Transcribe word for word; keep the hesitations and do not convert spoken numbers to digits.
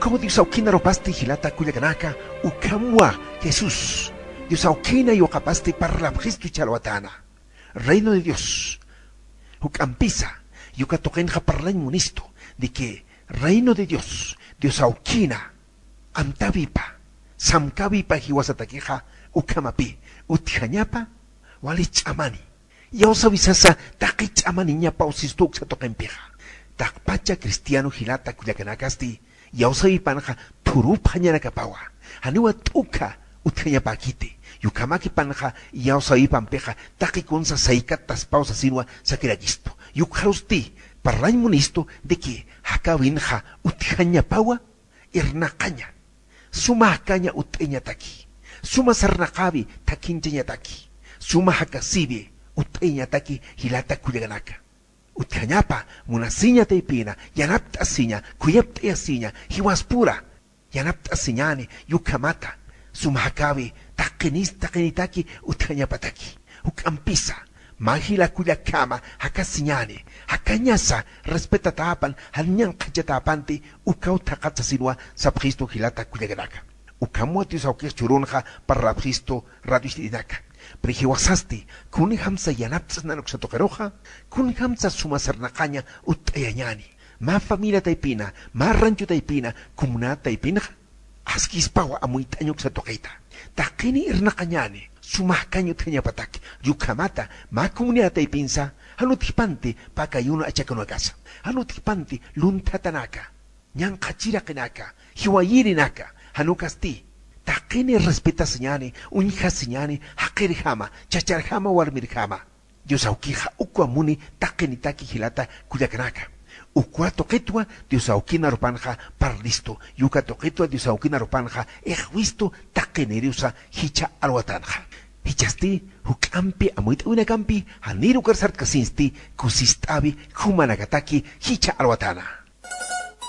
Ukaw Dios awkina arupasti jilata kullakanaka, ukhamwa Jesús Dios awkina yuqapasti parlapxistu ch'alwatana. Reino de Dios. Juk'ampisa, yuka tuqinxa parlañ munistu de que Reino de Dios, Dios awkina amtäwipa, samkäwipa jiwasatakixa ukhamapï utjañapa, wali ch'amani. Iyawsäwi sasa taqi ch'amaniñapaw sistu uksa tuqimpixa. Taqpacha cristiano jilata kullakanakasti, iyawsäwipanxa thurupxañanakapawa. Janiwa t'ukha utjañapäkiti. Yukhamakipanxa iyawsäwipampixa taqi kunsa saykataspaw sasinwa sakirakistu. Yukxarusti parlañ munistu de que jakäwinxa utjañapawa irnaqaña. Suma jakaña utt'ayañataki. Suma sarnaqäwi thakhinchañataki. Suma jakasiwi utt'ayañataki jilata kullakanaka. Utjañapa munasiña taypina, yanapt'asiña, khuyapt'ayasiña, jiwaspura yanapt'asiñäni, yukhamata suma jakäwi taqinis taqinitaki utjañapataki. Juk'ampisa, mä jila kullakhama jakasiñäni, jakañasa respetatäpan, jan ñanqhachatäpanti, ukaw thaqhat sasinwa sapxistu jilata kullakanaka. Ukhamwa Dios awkix churunxa parlapxistu radio ist'irinaka. Pero jiwasasti, kunjamsa yanapt'asnan uksa tuqiruxa, kunjamsa suma sarnaqaña utt'ayañäni. Mä familia taypina, mä rancho taypina, comunidad taypinxa, askispawa amuyt'añ uksa tuqita. Taqini irnaqañäni, suma jakañ utjañapataki, yukhamata, mä comunidad taypinsa, jan utjpanti pakayuna achakunakasa, jan utjpanti lunthatanaka, ñanqhachiraqinaka, jiwayirinaka, jan ukasti, taqini respetasiñäni, uñjasiñäni, jaqirjama, chacharjama, warmirjama. Dios awkixa ukwa muni taqinitaki jilata kullakanaka. Ukwa tuqitwa Dios awkina arupanxa parlistu, yuka tuqitwa Dios awkina arupanxa ixwistu taqiniriwsa jichha alwatanxa. Jichhasti juk'ampi amuyt'awinakampi janir ukar sartkasinsti kusist'awi jumanakataki jichha alwatana.